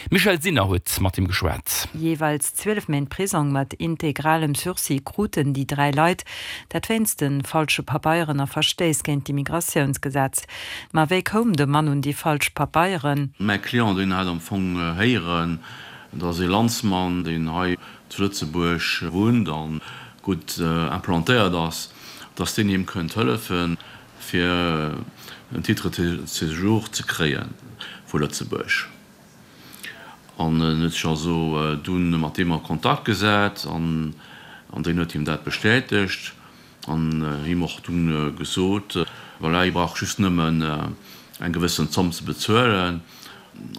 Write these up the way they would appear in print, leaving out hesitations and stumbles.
D'Michèle Sinner huet mat him geschwat. Jeeweils 12 Méint Prisong mat integralem Sursis kruten déi 3 Leit, dat wéinst de falsche Pabeieren a Verstéiss géint d'Immigratiounsgesetz. Ma wéi koum de Mann un déi falsch Pabeieren? Mäi Client, deen hat am Fong héieren, dass ee Landsmann, deen hei zu Lëtzebuerg wunnt a gutt implantéiert ass, dass deen him kënnt hëllefen, fir en Titre de séjour ze kréie vu Lëtzebuerg. An en huet sech also dunn mat deem a Kontakt gesat an deen huet him dat bestätegt an him och dunn gesot, voilà, hie brauch just nëmmen eng gewëssen Zomm ze bezuelen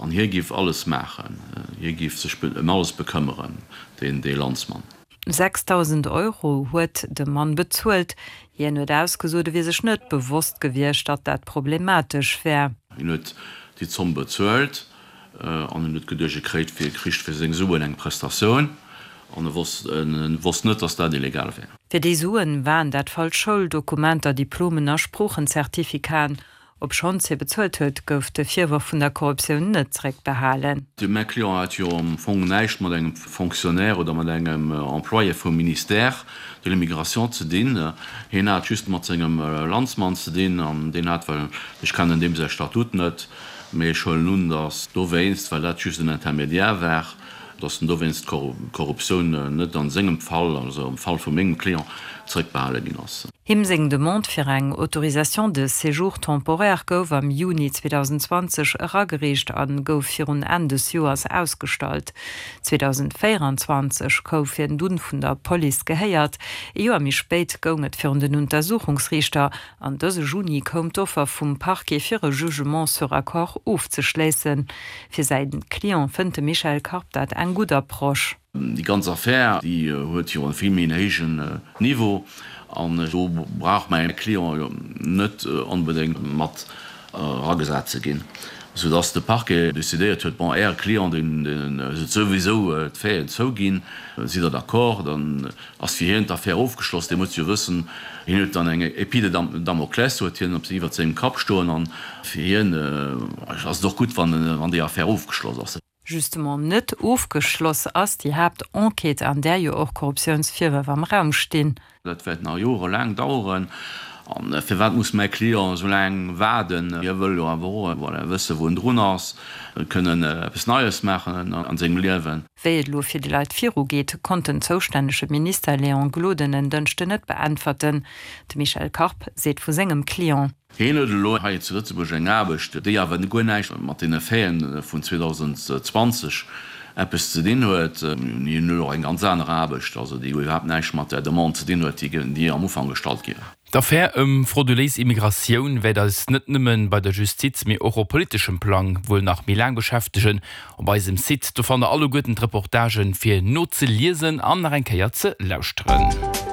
an hie géif alles maachen, hie géif sech ëm alles bekëmmeren, deen dee Landsmann. 6.000 Euro huet de Mann bezuelt. Hien huet ausgesot, e wier sech net bewosst gewiescht, datt dat problematesch wär. Hien huet déi Zomm bezuelt an en huet geduecht, e kréit fir kricht fir seng Suen eng Prestatioun an e wosst wosst net, datt dat illegal wär. Fir déi Suen waren dat falsch Schouldokumenter, Diplomen a Sproochenzertifikaten. Obschonns hie bezuelt huet, gouf de Virworf vun der Korruptioun net zeréckbehalen. Mäi Client hat jo am Fong näischt mat engem Fonctionnaire oder mat engem Employé vum Ministère de l'Immigration ze dinn. Hien hat just mat sengem Landsmann ze dinn an deen hat, well ech kennen deem säi Statut net, mee ech huelen un, datt dowéinst, well dat just en Intermédiaire war, datt en dowéinst d'Korruptioun net an sengem Fall, also am Fall vu mengem Client, zeréckbehale ginn ass. Him seng Demande fir eng Autorisation de séjour temporaire gouf am Juni 2020 eragereecht a gouf virun Enn des Joers ausgestallt. 2024 gouf hien dunn vun der Police gehéiert. Ee Joer méi spéit goung et virun den Untersuchungsriichter an dëse Juni koum d'Offer vum Parquet fir e Jugement sur accord ofzeschléissen. Fir säi Client fënnt de Michel Karp dat eng gutt Approche. Déi ganz Affär, déi huet jo e vill méi en héijen Niveau an do brauch mäi Client jo net onbedéngt mat eragesat ze ginn, soudass de Parquet decidéiert huet, bon, Äre Client, deen huet souwisou d'Faiten zouginn, sidd Der d'accord, dann ass fir hien d'Affär ofgeschloss. Dee muss jo wëssen, hien huet dann eng Épée de Damoclès huet hien op iwwert sengem Kapp stoen an fir hien ass et och gutt, wann déi Affär ofgeschloss ass. Justement net ofgeschloss ass déi Haaptenquête, an där jo och Korruptiounsvirwërf am Raum stinn. Dat wäert nach jorelaang daueren. A firwat muss mäi Client esou laang waarden? Hie wëll jo awer och, voilà, wëssen, wou en drun ass, kënnen eppes Neies maachen an sengem Liewen. Wéi et elo fir déi Leit virugeet, konnt den zoustännege Minister Léon Gloden en Dënschden net beäntwerten. De Michel Karp seet vu sengem Client. Hien huet elo hei zu Lëtzebuerg eng Aarbecht, déi awer guer näischt mat deene Faiten vun 2020 eppes ze dinn huet. Hien huet och eng ganz aner Aarbecht, also déi iwwerhaapt näischt mat där Demande ze dinn huet, déi am Ufank gestallt gi war. D'Affär ëm frauduléis Immigratioun wäert eis net nëmme bei der Justiz, mee och op politeschem Plang wuel nach méi laang beschäftegen. Op eisem Site, do fannt der alleguerten d'Reportagen fir nozeliesen an nach eng Kéier ze lauschteren.